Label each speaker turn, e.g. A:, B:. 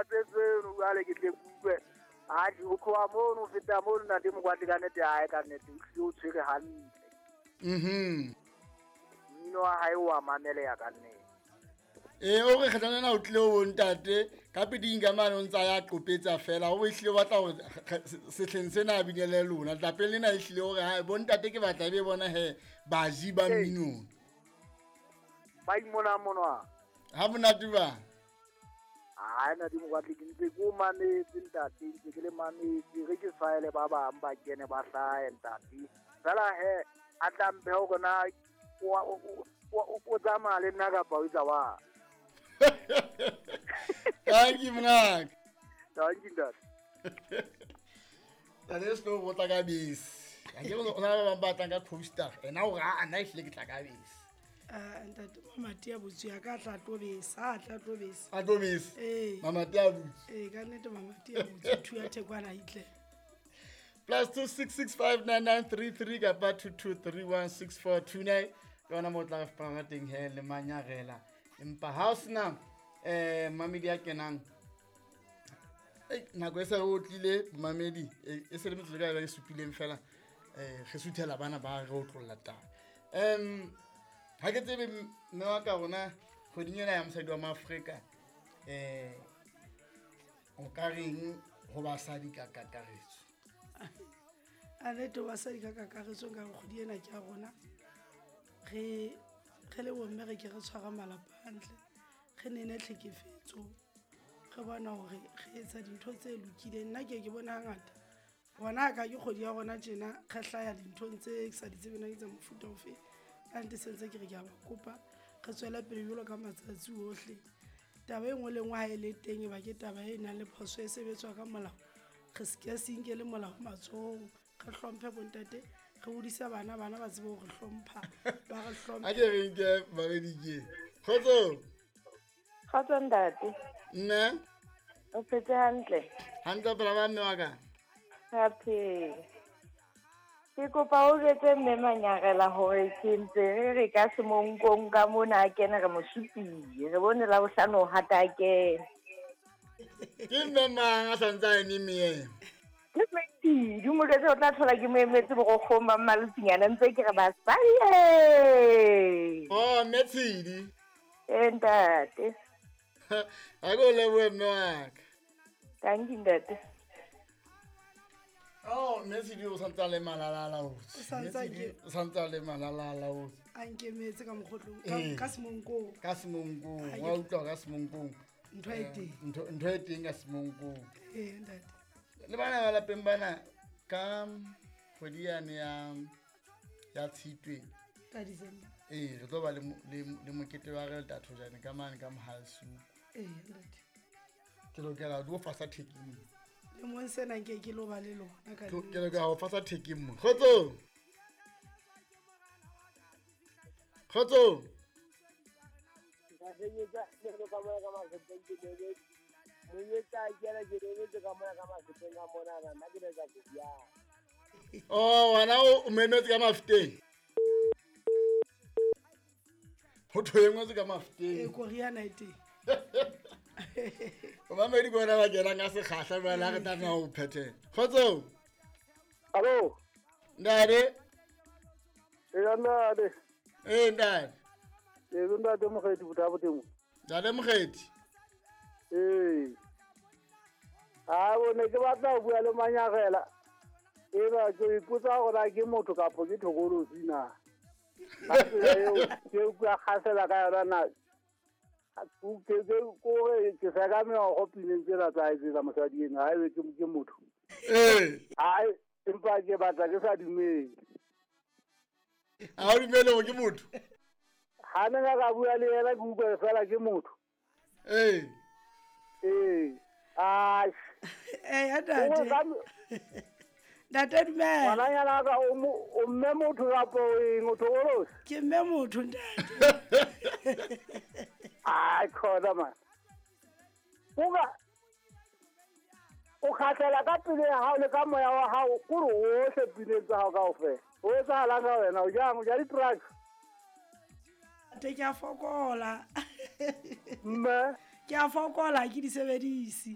A: Tseno jwale ke tle kutlwe. Atjhe, ho tloha mono ho feta mono ntate Mokwatli ka nnete hae ka nnete o hlile o tshwere hantle. Mmino wa hae o a mameleha ka nnete.
B: Ee, o re kgetlong lena o tlile ho bontate ka peding ka mane o ntsa ya qopetsa fela o ehlile o batla hore sehleng sena a binele lona lapeng lena ehlile hore ha bontate ke batla ebe bona he baji ba mminong.
A: Ba imona monwa.
B: Ha monate ba.
A: Hai ntate Mokwatli ke ntse ke o mametse ntate, ntse ke le mametse re ke faele ba bang ba kene ba hlahe ntate. Fela he a tla mphe hore na o tsamaya le nna kapa o etsa wa.
B: Thank you mngaka.
A: Thank you ntate.
B: Ntate se o tla ka bese. Ha ke o na ba bang ba tlang ka coaster. Ena o ra ana ehlile ke tla ka bese.
C: Ntate mamati a botse ya ka tla tlo besa, a tla tlo besa.
B: A tlo besa.
C: Ee.
B: Mamati a botse.
C: Ee, ka nnete mamati a botse thu ya thekwana itle.
B: +266599933 kapa 22316429 ke yona mo tla re fapana teng he le manyarela. Empa ha o sena mamedi a kenang nako e se re otlile mamedi e se le metsotso ka e supileng fela re suthela bana ba re otlolla taba. Ha ke tsebe mme wa ka rona kgweding ena ya mosadi wa Maafrika o ka reng ho basadi ka kakaretso?
C: A nnete basadi ka kakaretso nka kgwedi ena ke ya rona. Re le bomme re ke re tshwara malapa hantle, re nene tlhekefetso, re bona hore re etsa dintho tse lokileng. Nna ke bona hangata bona ka ke kgwedi ya rona tjena re hlaya dinthong tse ke sa di tsebeng na ke tsa mofuta ofe. Ka nnete se ntse ke re ke a ba kopa re tswele pele jwalo ka matsatsi ohle. Taba e nngwe le nngwe ha e le teng e ba ke taba e nang le phoso e sebetswa ka molao. Re se ke se inkele molao matsohong, re hlomphe bontate, re hodise bana, bana ba tsebe hore hlompha, ba re hlomphe.
B: A ke re nke mamedi ke. Kgotso.
D: Kgotso ntate.
B: Mme.
D: O phetse hantle?
B: Hantle phela ba mme wa ka.
D: Ra phela. Ke kopa o jwetse mme Manyarela hore ke ntse re re ka semonkong ka mona a kene re mo supile. Re bone la bohlano o hata a kene.
B: Ke mme mang a santse a eme meeng?
D: Ke Mmetidi, mo jwetse o tla thola ke mo emetse borokgong ba mmalotsinyana ntse ke re basadi.
B: Oh, mme Tshidi.
D: Ee ntate.
B: Ha ke o lebohe mme wa ka.
D: Thank you ntate.
B: Oh, mme Tshidi o santse a le malala-a-laotswe. O santse a le malala-a-laotswe.
C: A nkemetse ka mokgotlong, ka semonkong.
B: Ka semonkong, wa utlwa ka semonkong.
C: Ntho e teng.
B: Ntho e teng ka semonkong.
C: Ee ntate.
B: Le bana ba lapeng bana ka kgwedi yane ya Tshitwe.
C: Ka December.
B: Ee, re tlo ba le mokete wa re Thojane ka mane ka Mohalsuku.
C: Ee ntate.
B: Ke lokela ho fasa thekeng.
C: Le mong sena nke ke lo ba le lona ka
B: Ke lokela ho fasa thekeng mo. Kgotso. Kgotso. Oh, wena o memetse ka mafuteng. Ho thwe engwe ka mafuteng.
C: E koriana e teng.
B: O mamedi bona ba kenang ka sekgahla jwale ha re tlameha ho phethela. Kgotso.
A: Hallo.
B: Ntate.
A: Ee ntate.
B: Ee ntate.
A: Ee ntate Mokgethi botabo teng.
B: Ntate Mokgethi.
A: Ee. Ha bone ke batla ho bua le Manyarela. Eba ke ipotsa hore na ke motho kapa ke thokolosi na. Ka tsela eo ke utlwa kgasela ka yona na. Ke kore ke seka meokgo pineng tsena tsa hae tsa mosadi ena, ha ebe ke motho.
B: Ee.
A: Ai, empa ke batla ke sa dumele.
B: Ha o dumele hore ke motho?
A: Ha ne ka bua le yena ke utlwa fela ke motho.
B: Ee.
A: Ee. Ai.
C: Ee, ntate. Ntate dumela.
A: Ngwananyana ka o mme motho kapa o eng o thokolosi?
C: Ke mme motho ntate.
A: Ai khona man. Kuka o kgahlela ka pele ya hao le ka moya wa hao kore ohle pineng tsa hao kaofela. O etsahalang ka wena o jang o ja di-drugs?
C: Ntate ke a fokola.
A: Mme.
C: Ke a fokola, ha ke di sebedise.